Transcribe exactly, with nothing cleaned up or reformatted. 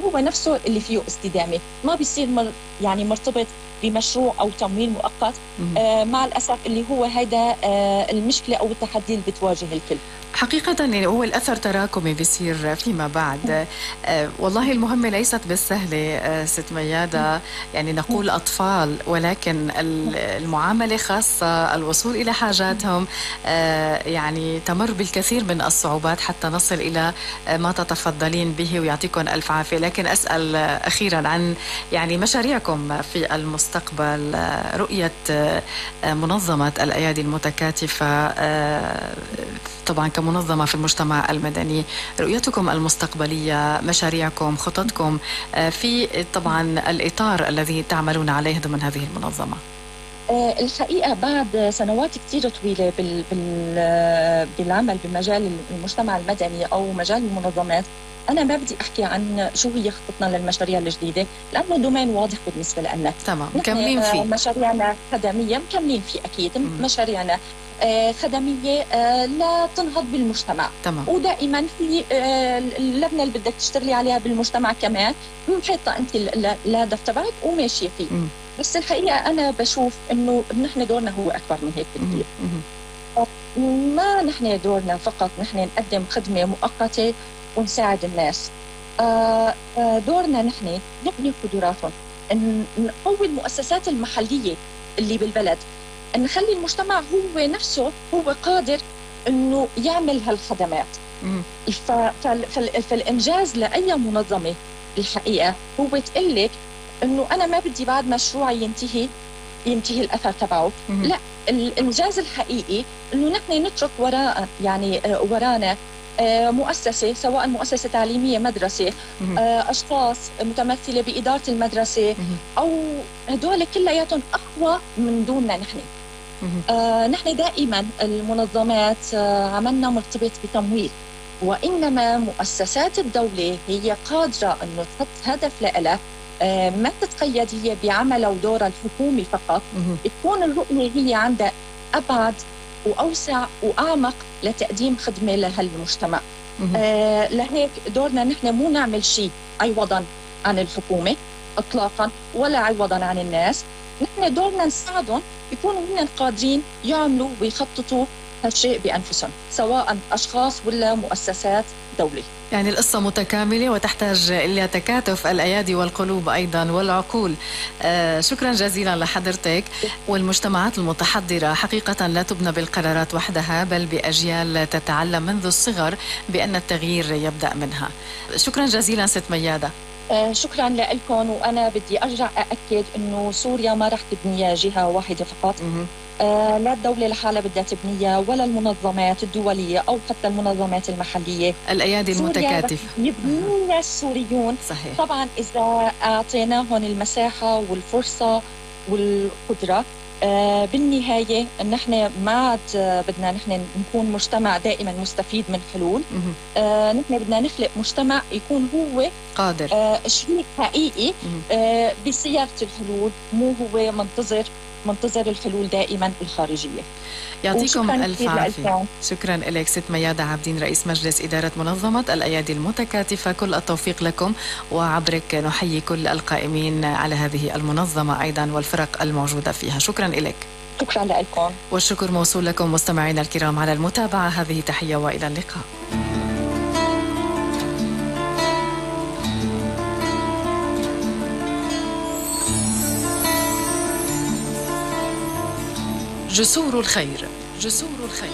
هو نفسه اللي فيه استدامة، ما بيصير مر يعني مرتبط بمشروع أو تمويل مؤقت. آه مع الأسف اللي هو هيدا آه المشكلة أو التحدي اللي بتواجه الكل. حقيقة يعني هو الأثر تراكمي بيصير فيما بعد. آه والله المهمة ليست بالسهلة آه ست ميادة، يعني نقول أطفال، ولكن المعاملة خاصة، الوصول إلى حاجاتهم آه يعني تمر بالكثير من الصعوبات حتى نصل إلى آه ما تتفضلين به، ويعطيكم ألف عافية. لكن أسأل آه أخيرا عن يعني مشاريعكم في المستقبل، آه رؤية آه منظمة الأيادي المتكاتفة آه طبعا كمنظمة في المجتمع المدني، رؤيتكم المستقبلية، مشاريعكم، خططكم في طبعا الإطار الذي تعملون عليه ضمن هذه المنظمة. الحقيقة بعد سنوات كتير طويلة بالعمل بمجال المجتمع المدني أو مجال المنظمات، أنا ما بدي أحكي عن شو هي خطتنا للمشاريع الجديدة، لأنه دومين واضح بالنسبة لنا. تمام، مكملين فيه. مشاريعنا خدمية مكملين فيه أكيد. م- مشاريعنا آه خدمية آه لا تنهض بالمجتمع. تمام. ودائما في آه اللبنة اللي بدك تشتغلي عليها بالمجتمع كمان محيطة أنت الهدف تبعك وماشية فيه. م- بس الحقيقة أنا بشوف إنه نحن دورنا هو أكبر من هيك بكثير. ما نحن دورنا فقط نحن نقدم خدمة مؤقتة ونساعد الناس. آه دورنا نحن نبني قدراتهم، نقوي المؤسسات المحلية اللي بالبلد، نخلي المجتمع هو نفسه هو قادر إنه يعمل هالخدمات. فالإنجاز لأي منظمة الحقيقة هو تقلك إنه أنا ما بدي بعد مشروعي ينتهي ينتهي الأثر تبعه. لا، الإنجاز الحقيقي إنه نحن نترك وراء يعني ورانا مؤسسة، سواء مؤسسة تعليمية، مدرسة، أشخاص متمثلة بإدارة المدرسة، أو هدول كلياتهم أقوى من دوننا نحن. آه نحن دائما المنظمات آه عملنا مرتبط بتمويل، وإنما مؤسسات الدولة هي قادرة أنه تحط هدف لها، آه ما تتقيد هي بعمل ودور الحكومي فقط، تكون الرؤية هي عندها أبعد وأوسع وأعمق لتقديم خدمة لهالمجتمع. آه لهيك دورنا نحن مو نعمل شيء عوضاً عن الحكومة إطلاقاً، ولا عوضاً عن الناس. نحن دورنا نساعدهم يكونوا هن قادرين يعملوا ويخططوا هالشيء بأنفسهم، سواء أشخاص ولا مؤسسات دولة. يعني القصة متكاملة وتحتاج إلى تكاتف الأيادي والقلوب أيضا والعقول. آه شكرا جزيلا لحضرتك. والمجتمعات المتحضرة حقيقة لا تبنى بالقرارات وحدها، بل بأجيال تتعلم منذ الصغر بأن التغيير يبدأ منها. شكرا جزيلا ست ميادة. آه شكرا لكم. وأنا بدي أرجع أأكد أنه سوريا ما رح تبنيها جهة واحدة فقط. آه لا الدولة لحالها بدها تبنيها، ولا المنظمات الدولية أو حتى المنظمات المحلية. الأيادي المتكاتفة يبنيها السوريون. صحيح. طبعا إذا أعطيناهم المساحة والفرصة والقدرة. آه بالنهاية نحن ما عاد بدنا نحن نكون مجتمع دائما مستفيد من حلول. آه نحن بدنا نخلق مجتمع يكون هو قادر آه شريك حقيقي آه بصياغة الحلول، مو هو منتظر منتظر الحلول دائما الخارجية. يعطيكم ألف عافية. شكرا لك ست ميادة عابدين، رئيس مجلس إدارة منظمة الأيادي المتكاتفة. كل التوفيق لكم، وعبرك نحيي كل القائمين على هذه المنظمة أيضا والفرق الموجودة فيها. شكرا لك. شكرا لكم. والشكر موصول لكم مستمعينا الكرام على المتابعة. هذه تحية وإلى اللقاء. جسور الخير، جسور الخير.